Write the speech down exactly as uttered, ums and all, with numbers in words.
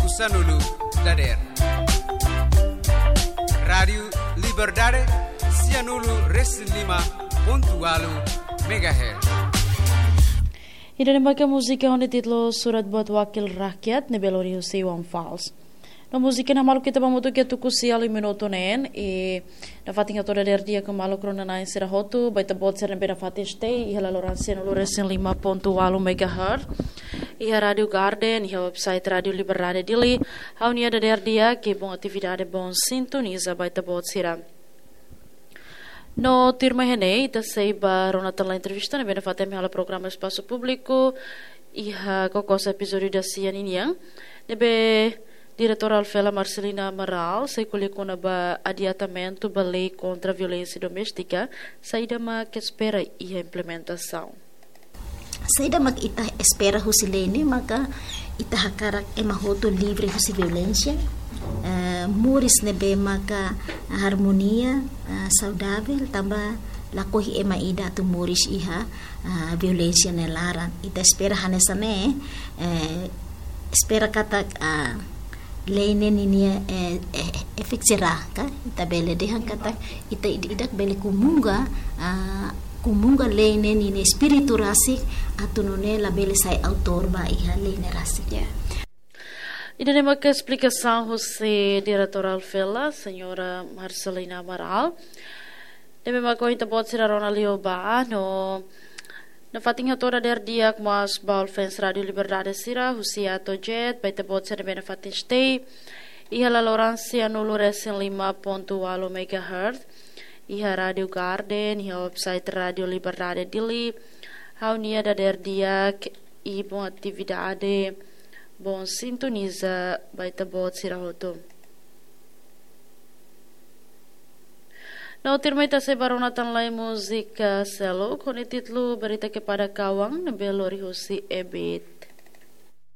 Sanulu dader. Rádiu Liberdade, sianulu resin lima pontu walu megahertz. Ida-ne'e maka múzika ho títulu Surat Buat Wakil Rakyat ne'ebé lori husi Iwan Fals. No múzika ne'e maluk ita ba mutu ke tuku sia liu minutu neen, i nafatin hato'o dader di'ak maluk rona-na'in sira hotu, ba ita-boot sira ne'ebé nafatin stay iha laloran sianulu resin lima pontu walu megahertz, iha Rádiu Garden, iha website Rádiu Liberdade Dili, ha'u-nia dader di'ak, i bom atividade, bom sintoniza ba ita-boot sira. No tuirmai iha ne'e, ita sei ba rona tan lai entrevista ne'ebé nafatin ami halo programa Espasu Públiku, iha Cocos epizódiu dasia ninian, ne'ebé Diretora Alfela Marcelina Amaral sei ko'alia kona-ba adiantamentu ba lei kontra violénsia doméstika, saida mak espera iha implementasaun. Saida mak ita espera husi lei ne'e maka ita hakarak ema hotu livre husi violénsia, eh, moris ne'ebé maka harmonia, eh, saudavel, tanba lakohi ema ida atu moris iha, eh, violénsia nia laran. Ita espera hanesan ne'e, eh, espera katak, ah, lei ne'e ninia, eh, eh, efetu sira ka, ita bele dehan katak ita ida-idak bele komunga, ah, komunga lei ne'e ninia espíritu rasik, atu nune'e labele sai autór ba iha lei ne'e rasik. Ya. Ida-ne'e maka esplikasaun husi Diretora Alfela, Señora Marcelina Amaral. Ne'ebé maka ita-boot sira rona liu ba, no nafatin hato'o dader di'ak mós ba fans Rádiu Liberdade sira, husi A to'o Z, ba ita-boot sira ne'ebé nafatin stay iha laloran sianulu resin lima pontu walu megahertz, iha Rádiu Garden, iha website Rádiu Liberdade Dili, ha'u-nia dader di'ak, i bom atividade, bom sintoniza ba ita-boot sira hotu. No tuirmai ita sei ba rona tan lai múzika seluk ho títulu Berita Kepada Kawan ne'ebé lori husi Ebit.